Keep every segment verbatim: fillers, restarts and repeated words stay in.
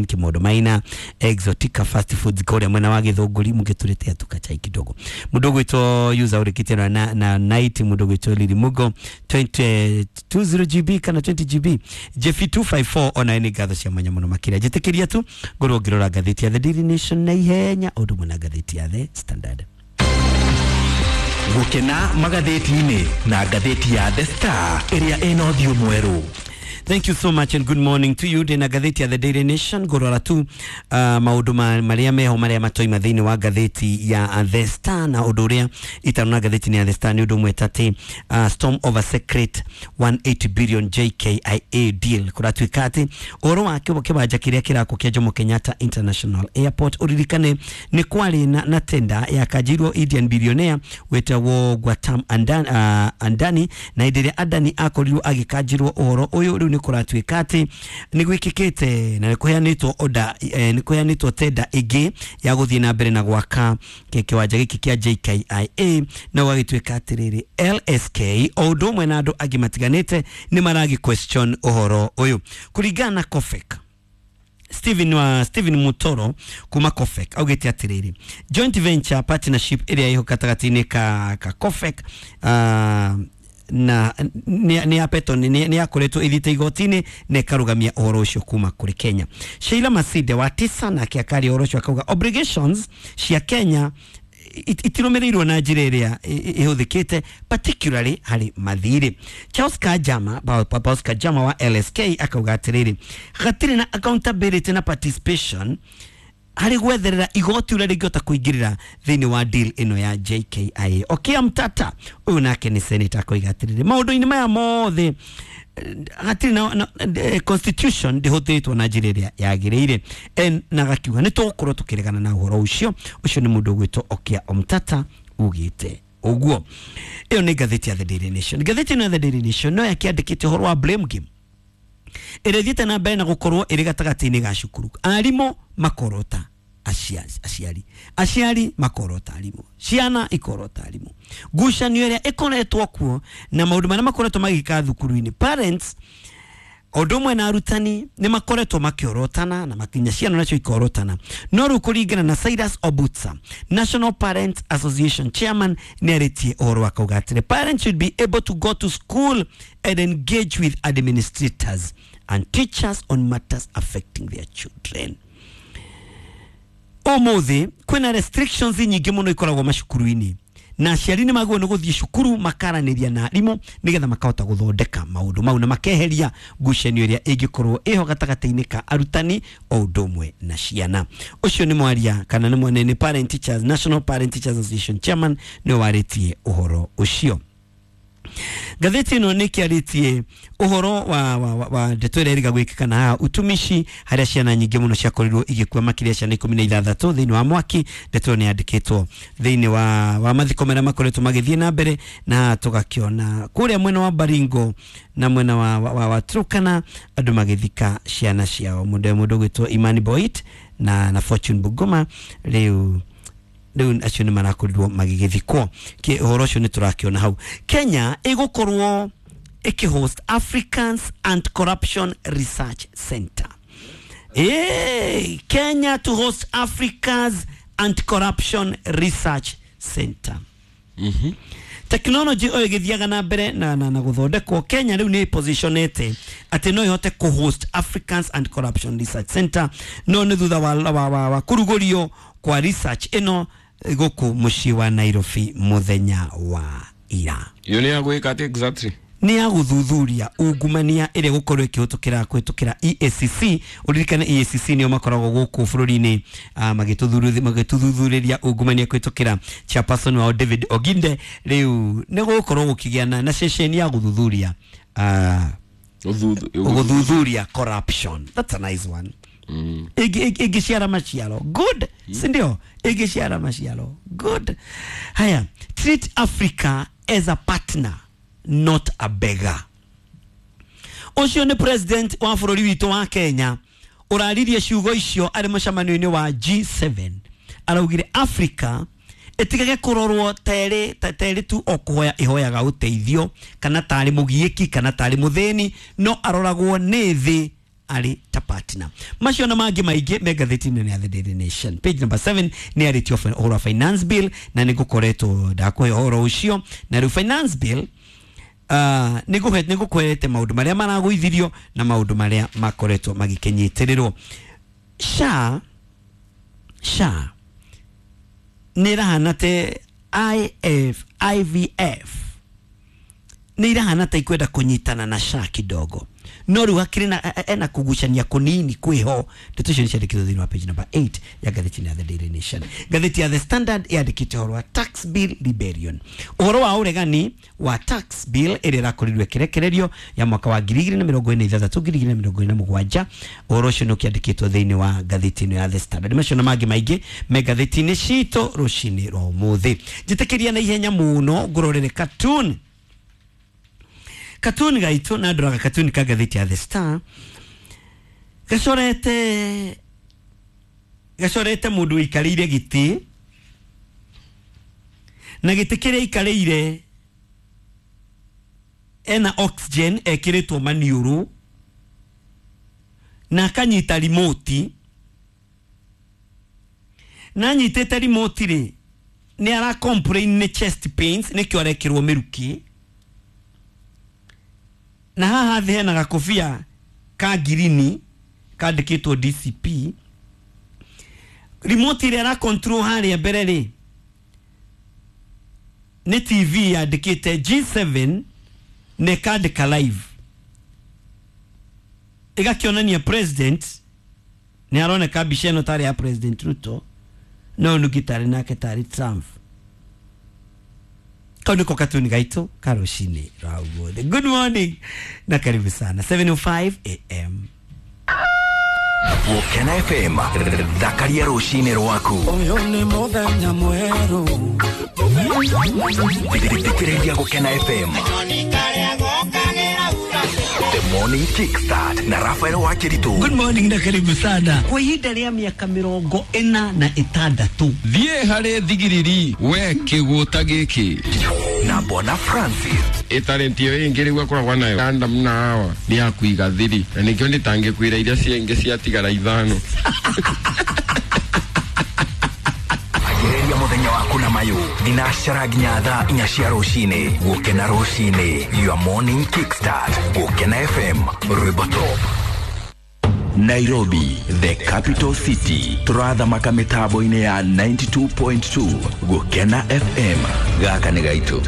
Kimodo Maina Exotica Fast Foods kũrĩa mwena wa Gĩthũngũri mũngĩtũretea tukachai kidogo. Mũndũ ũgwĩtwo user ũrĩkĩtie na, na, na night, mũndũ ũgwĩtwo Lili Mugo twenty, twenty G B kana twenty G B, Jefi two five four, ona nĩ ngatho cia mwanya mũno makĩria. Njĩtĩkĩria tu ngorwo ngĩrora ngathĩti ya The Daily Nation na ihenya, ũndũ ũmwe na ngathĩti ya The Standard. Gũkena magathĩti-inĩ na ngathĩti ya The Star ĩrĩa ĩna ũthiũ mwerũ. Thank you so much and good morning to you. Ndĩna ngathĩti ya The Daily Nation, ngũrora tu uh, maũndũ ma, marĩa meho marĩa matoima thĩinĩ wa ngathĩti ya The Star, na ũndũ ũrĩa itarona ngathĩti-inĩ ya The Star nĩ ũndũ ũmwe ta atĩ uh, storm over secret one hundred eighty billion J K I A deal. Kũratuĩka atĩ ũhoro wa kĩwanja kĩrĩa kĩrakwo kĩa Jomo Kenyatta International Airport, ũririkane nĩ kwarĩ na, na tenda yakanjirwo Indian billionaire wĩtagwo Gautam Andan, uh, Adani, na hĩndĩ ĩrĩa Adani akorirwo agĩkanjirwo ũhoro ũyũ, rĩu nĩ kũratuĩka atĩ nĩ gwĩkĩkĩte na nĩ kũheanĩtwo order, eh, nĩ kũheanĩtwo tenda ĩngĩ ya gũthiĩ na mbere na gwaka kĩwanja gĩkĩ kĩa J K I A, na gũgagĩtuĩka atĩrĩrĩ, L S K o ũndũ ũmwe na andũ angĩ matiganĩte nĩ maragĩ question ũhoro ũyũ. Kũringana na COFEK, Stephen wa Stephen Mutoro kuma COFEK augĩte atĩrĩrĩ, joint venture partnership ĩrĩa ĩho gatagatĩ-inĩ ka, ka COFEK uh, na nĩ ya Peton nĩ yakoretwo ĩthiĩte igoti-inĩ na ĩkarũgamia ũhoro ũcio kuma kũrĩ Kenya. Sheila Masinde wa Tisa nake akaria ũhoro ũcio, akauga obligations cia Kenya itirũmĩrĩirwo na njĩra ĩrĩa ĩhũthĩkĩte, particularly harĩ mathirĩ. Charles Kajama, Charles Kajama wa L S K akauga atĩrĩrĩ, hatirĩ na accountability na participation harĩ gwetherera igoti ũrĩa rĩngĩhota kũingĩrĩra thĩinĩ wa deal ĩno ya J K I A. Okiya Mtata, ũyũ nake nĩ senator, akoiga atĩrĩrĩ, maũndũ-inĩ maya mothe hatirĩ na, na eh, constitution ndĩhũthĩrĩtwo na njĩra ĩrĩa yagĩrĩire. En- na gakiuga nĩ tũgũkorwo tũkĩregana na ũhoro ũcio. Ũcio nĩ mũndũ ũgwĩtwo Okiya Omtata ugĩte ũguo. Ĩyo nĩ ngathĩti ya The Daily Nation. Ngathĩti ĩno ya The Daily Nation no yakĩandĩkĩte ũhoro wa blame game ĩrĩa ĩthiĩte na mbere na gũkorwo ĩrĩ gatagatĩ-inĩ ga cukuru, arimũ makorota aciari, aciari aciari makorota arimũ, ciana ikorota arimũ, ngucanio ĩrĩa ĩkoretwo kuo na maũndũ marĩa makoretwo magĩka thukuru-inĩ. Parents ũndũ ũmwe na arutani nĩ makoretwo makĩorotana na makinya ciana nacio ikorotana. No rĩu kũringana na Cyrus Obutsa, National Parents Association chairman, nĩ arĩtie ũhoro wa kauga atĩrĩ, parents should be able to go to school and engage with administrators and teachers on matters affecting their children. Ũmũthĩ kwĩna restrictions nyingĩ mũno ikoragwo macukuru-inĩ, na aciari nĩ magĩrĩirwo nĩ gũthiĩ cukuru makaranĩria na arimũ nĩgetha makahota gũthondeka maũndũ mau na makeheria ngucanio ĩrĩa ĩngĩkorwo ĩho gatagatĩ-inĩ ka arutani o ũndũ ũmwe na ciana. Ũcio nĩ mwaria kana nĩ mwene nĩ Parent Teachers, National Parent Teachers Association chairman, nĩwe warĩtie ũhoro ũcio. Ngathĩti ĩno nĩ kĩarĩtie ũhoro wa, wa, wa, wa ndeto ĩrĩa ĩrĩga gwĩkĩka na haha utumishi, harĩa ciana nyingĩ mũno ciakorirwo igĩkua, makĩria ciana ikũmi na ithathatũ thĩinĩ wa mwaki. Ndeto ĩyo nĩ yandĩkĩtwo thĩinĩ wa, wa mathiko marĩa makoretwo magĩthiĩ na mbere, na haha tũgakĩona kũrĩa mwena wa Baringo na mwena wa, wa, wa, wa Turkana andũ magĩthika ciana ciao, mũndũ mũndũ ũgwĩtwo Imani Boit na, na Fortune Bugoma. Rĩu rĩu acio nĩ marakorirwo magĩgĩthikwo. Kĩ ũhoro ũcio nĩ tũrakĩona hau. Kenya ĩgũkorwo ĩkĩhost Africans Anti-Corruption Research Center. Hey, Kenya to host Africa's Anti-Corruption Research Center. Technology oyo ĩgĩthiaga na mbere na, na, na gũthondekwo, Kenya rĩu nĩ positionete atĩ no ĩhote kũhost Africans Anti Corruption Research Center, no nĩ thutha wa, wa, wa, wa kũrugũrio kwa research ĩno gũkũ mũciĩ wa Nairobi mũthenya wa ira. Iyo nĩ ya gwĩka atĩ exactly? Nĩ ya gũthuthuria ungumania ĩrĩa gũkorwo ĩkĩhĩtũkĩra kũhĩtũkĩra E A C C. Ũririkane E A C C nĩo makoragwo gũkũ bũrũri-inĩ uh, magĩtũthuthurĩria ungumania kũhĩtũkĩra chairperson wao David Oginde. Rĩu nĩ gũgũkorwo gũkĩgĩa na, na ceceni ya gũthuthuria uh, gũthuthuria corruption. That's a nice one. Mm. Ĩngĩciara maciaro good, mm. Sindio? Ĩngĩciara maciaro good. Haya, treat Africa as a partner, not a beggar. Ũcio nĩ president wa bũrũri witũ wa Kenya ũraririe ciugo icio arĩ mũcemanio-inĩ wa G seven. Araugire Africa ĩtigage kũrorwo terĩ terĩ tu o kũhoya ĩhoyaga ũteithio, kana tarĩ mũgiĩki kana tarĩ mũthĩni, no aroragwo nĩ thĩ. arĩ ta partner. Macio na mangĩ maingĩ me ngathĩti-inĩ ya The Daily Nation. Page number seven nĩ arĩtio ũhoro wa finance bill, na nĩ ngũkoretwo ndakũhe ũhoro ũcio. Na rĩu finance bill uh, nĩ ngũkwerete maũndũ marĩa maragũithirio na maũndũ marĩa makoretwo magĩkĩnyitĩrĩrwo. S H A S H A nĩ ĩrahana te I F I V F nĩ irahana ta ikwenda kũnyitana na S H A kidogo, no rĩu hakĩrĩ na ena kugucania kũnini kwĩho. Ndeto icio nĩ ciandĩkĩtwo thĩinĩ wa page number eight ya ngathĩti ya The Daily Nation. Ngathĩti ya The Standard yandĩkĩte ũhoro wa tax bill rebellion, ũhoro wa ũregani wa tax bill ĩrĩa ĩrakorirwo ĩkĩrekererio ya mwaka wa ngiri igĩrĩ na mĩrongo ĩna na ithathatũ ngiri igĩrĩ na mĩrongo ĩna na mũgwanja. Ũhoro ũcio nĩ ũkĩandĩkĩtwo thĩinĩ wa ngathĩti ĩno ya The Standard. Macio na mangĩ maingĩ me ngathĩti-inĩ citũ rũcinĩ rwa ũmũthĩ. Njĩtĩkĩria na ihenya mũno ngũrorere cartoon cartoon gaitũ, na ndoraga cartoon ka ngathĩti ya The Star gacorete gacorete mũndũ ũikarĩire gĩtĩ, na gĩtĩ kĩrĩa aikarĩire ena oxygen ekĩrĩtwo maniũrũ na akanyita remote, na anyitĩte remote rĩ, nĩ ara complain nĩ chest pains, nĩkĩo arekĩrwo mĩrukĩ. Na haha thĩ hena gakobia ka ngirini kandĩkĩtwo D C P. Remote ĩrĩa ara control harĩa mbere rĩ, nĩ T V yandĩkĩte G seven na ĩkandĩka live, ĩgakĩonania president. Nĩ aroneka mbica ĩno tarĩ ya President Ruto, no nũngĩ tarĩ nake tarĩ Trump. Kau nĩko katuni gaitũ ka rũcinĩ rwa ũmũthĩ. Good morning na karibu sana. seven oh five a m. Gũkena F M, thakaria rũcinĩ rwaku. Ũyũ nĩ mũthenya mwerũ. Thikĩrĩria Gũkena F M, The Morning Kickstart na Rafael Wakiritu. Good morning na karibu sana. Kwa ihinda rĩa mĩaka mĩrongo ĩna na ĩtandatũ, Thiĩ harĩ thigiriri we kĩgũta gĩkĩ. Na Bona Francis. Ĩtalenti ĩyo ĩngĩ rĩu akoragwo nayo Adam na Hawa nĩ ya kũiga thiri, na nĩkĩo ndĩtangĩkwĩra iria ciengĩ ciatigara ithano. Ambĩrĩria mũthenya waku na mayũ thinacara nginya thaa inya cia rũcinĩ. Gũkena rũcinĩ, your morning kickstart. Gũkena F M, rwĩmbo top. Nairobi, the capital city, tũrathamaka mĩtambo-inĩ ya ninety-two point two Gũkena F M. Gaka nĩ gaitũ.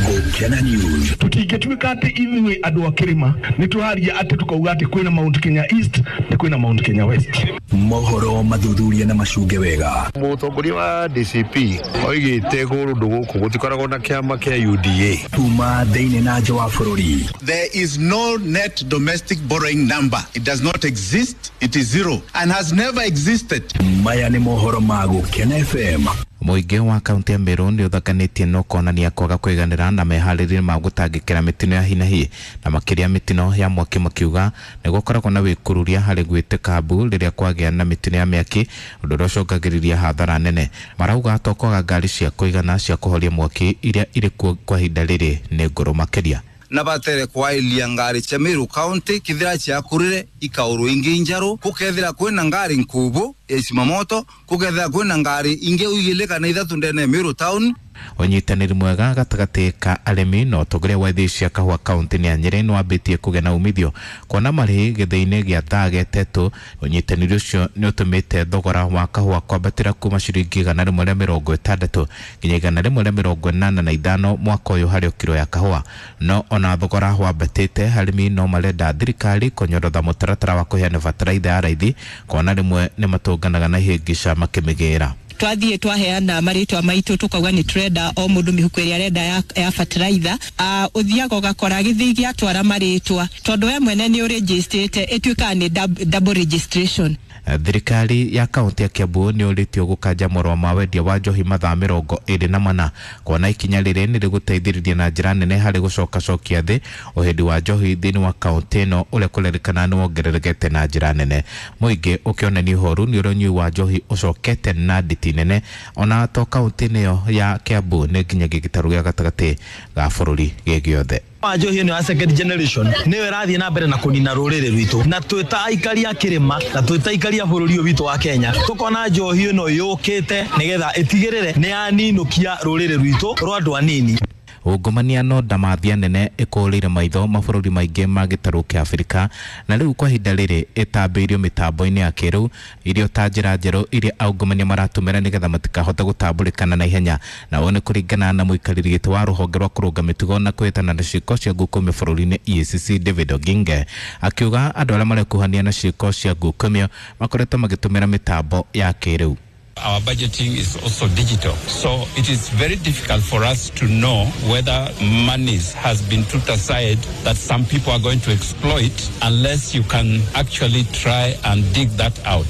Gũkena News. Tũtingĩtuĩka atĩ ithuĩ andũ a kĩrĩma nĩ tũraria atĩ tũkauga atĩ kwĩna Mount Kenya East na kwĩna Mount Kenya West. Mohoro mathuthurie na macunge wega. Mũtongoria wa D C P oigĩte kũndũ gũkũ gũtikoragwo na kĩama kĩa U D A. Kuma thĩinĩ na nja wa bũrũri. There is no net domestic borrowing number. It does not exist. It is zero and has never existed. Maya nĩ mohoro ma Gũkena F M. Mũingĩ wa kaunti ya Meru nĩ ũthakanĩtie na ũkonania kwaga kũiganĩra na meharĩria ma gũtangĩkĩra mĩtino ya hinahi na makĩria mĩtino ya mwaki, makiuga nĩ gũkoragwo na wĩkururia harĩ gwĩtĩka mbu rĩrĩa kwagĩa na mĩtino ya mĩaki, ũndũ ũrĩa ũcũngagĩrĩria hathara nene. Marauga to kwaga ngari cia kũigana cia kũhoria mwaki iria irĩ kuo kwa ihinda rĩrĩ nĩ ngũrũ makĩria. Na batere kwailia ngari cia Meru County kithira ciakurire ikauru ingi njaru, kukethira kwina ngari nkubu ya isimamoto, kukethira kwina ngari ingi uigile kana ithatu ndene Meru Town. Ũnyitanĩri mwega gatagatĩ ka arĩmi na ũtongoria wa ithĩi cia kahũa kaunti-inĩ ya Nyĩrĩ nĩ wambĩtie kũgĩa na umithio kuona marĩhi gĩthĩi-inĩ gĩa thaa getetũ. Ũnyitanĩri ũcio nĩ ũtũmĩte thogora wa kahũa kwambatĩra kuma ciringi igana rĩmwe rĩa mĩrongo ĩtandatũ nginya igana rĩmwe rĩa mĩrongo ĩnana na ithano mwaka ũyũ harĩ o kiro ya kahũa. No ona thogora wambatĩte, arĩmi no marenda thirikari kũnyorotha mũtaratara wa kũheana bataraitha ya raithi, kuona rĩmwe nĩ matũnganaga na ihĩngĩca makĩmĩgĩra. Twathiĩ twaheana marĩtwa maitũ, tukauga nĩ tũrenda o mũndũ mĩhuko ĩrĩa arenda ya, ya fertilizer. uh, ũthiaga ũgakora gĩthĩi gĩatwara marĩtwa, tondũ we mwene nĩ ũrĩnjĩstĩte, ĩtuĩkaga nĩ double registration. Thirikari ya kaunti ya Kiambu nĩ ũrĩtio gũkanja marũa ma wendia wa njohi mathaa mĩrongo ĩrĩ na mana, kuona ikinya rĩrĩ nĩ rĩgũteithĩrĩria na njĩra nene harĩ gũcokacokia thĩ ũhĩndi wa njohi thĩinĩ wa kaunti ĩno, ũrĩa kũrerĩkana nĩ wongererekete na njĩra nene, mũingĩ ũkĩonania ũhoru nĩ ũrĩa ũnyui wa njohi ũcokete na nditi. inene ona to kaunti-inĩ ĩyo ya Kiambu nĩ nginyagia gĩtarũ gĩa gatagatĩ ga bũrũri gĩ gĩothe. Njohi ĩno ya second generation nĩyo ĩrathiĩ na mbere na kũnina rũrĩrĩ rwitũ, na twĩ ta aikari a kĩrĩma na twĩ ta aikari a bũrũri ũyũ witũ wa Kenya tũkona njohi ĩno yũkĩte nĩgetha ĩtigĩrĩre nĩ yaninũkia rũrĩrĩ rwitũ rwa andũ anini. Ungumania no ndamathia nene ĩkũrĩire maitho mabũrũri maingĩ ma gĩtarũ kĩa Afrika na rĩu kwa ihinda rĩrĩ ĩtambĩirio mĩtambo-inĩ ya kĩrĩu irio ta njĩra njerũ iria aungumania maratũmĩra nĩgetha matikahote gũtambũrĩkana na ihenya, na ũũ nĩ kũringana na mũikarĩri gĩtĩ wa rũhonge rwa kũrũnga mĩtugo na kũhĩtana na ciĩko cia ngukumio bũrũri-inĩ E A C C David Oginge akiuga andũ arĩa marekuhania na ciĩko cia ngukumio makoretwo magĩtũmĩra mĩtambo ya kĩrĩu. Our budgeting is also digital, so it is very difficult for us to know whether monies has been put aside that some people are going to exploit unless you can actually try and dig that out.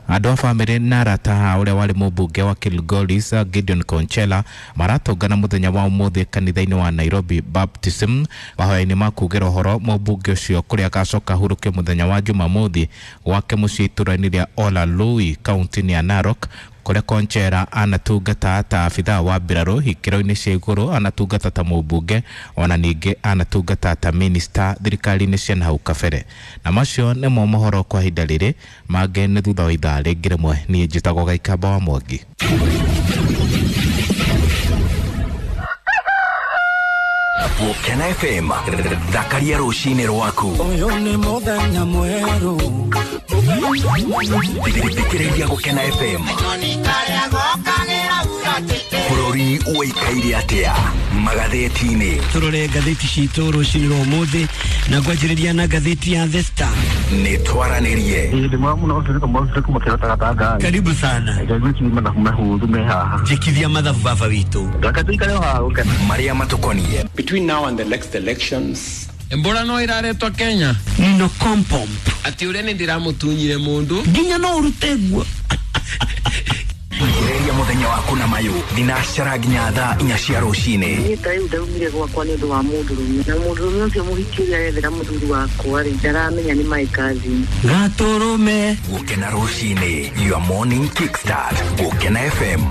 Andũ a bamĩrĩ na arata a ũrĩa warĩ mũmbunge wa Kilgoris Gideon Konchela maratũngana mũthenya wa ũmũthĩ kanitha-inĩ wa Nairobi Baptism mahoya-inĩ ma kugĩra ũhoro mũmbunge ũcio kũrĩa agacoka ahurũke mũthenya wa Jumamothi gwake mũciĩ itũũra-inĩ rĩa Olalui kaunti-inĩ ya Narok kũrĩa Konchera anatungata ta abithaa wa mbirarũ ikĩro-inĩ cia igũrũ, anatungata ta mũmbunge ona ningĩ anatungata ta minista thirikari-inĩ cia nahau kabere. Na macio nĩmo mohoro kwa ihinda rĩrĩ, mangĩ nĩ thutha wa ithaa rĩngĩ rĩmwe. Niĩ njĩtagwo Gaikamba wa Mwangi. Gũkena F M thakaria rũcinĩ rwaku. Ũyũ nĩ mũthenya mwerũ. Thikĩrĩria Gũkena F M. Bũrũri ũikaire atĩa magathĩti-inĩ. Tũrore ngathĩti citũ rũcinĩ rwa ũmũthĩ na ngwanjĩrĩria na ngathĩti ya The Star. Nĩ twaranĩrie. Karibu sana. Njĩkithia mathabu baba witũ. Marĩa matũkoniĩ. Between now and the next elections, Embora no iraretwo Kenya. Nino kompomp. Ati uria ni ndiramutunyire mundu. Nginya no urute guo. Anjĩrĩria mũthenya waku na mayũ thinacara nginya thaa inya cia rũcinĩ. Niĩ ta rĩu ndaumire gwakwa nĩ ũndũ wa mũndũrũme, na mũndũrũme ũcio mũhiki ũrĩa arethera mũthuri wakwa rĩ, ndaramenya nĩ my cousin. Gatũrũme. Gũkena rũcinĩ, your morning kickstart. Gũkena F M.